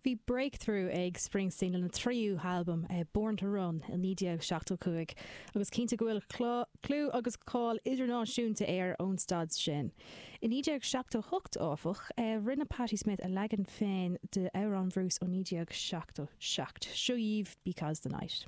Bhí breakthrough ag Springsteen lena thríú halbam, Born to Run, i 1975 agus cinnte go bhfuil clú agus cáil idirnáisiúnta air ón staid sin. I 1978, áfach, rinne Patti Smith a leagan féin d'amhrán Bhruce ó 1977, seo dhaoibh Because the Night.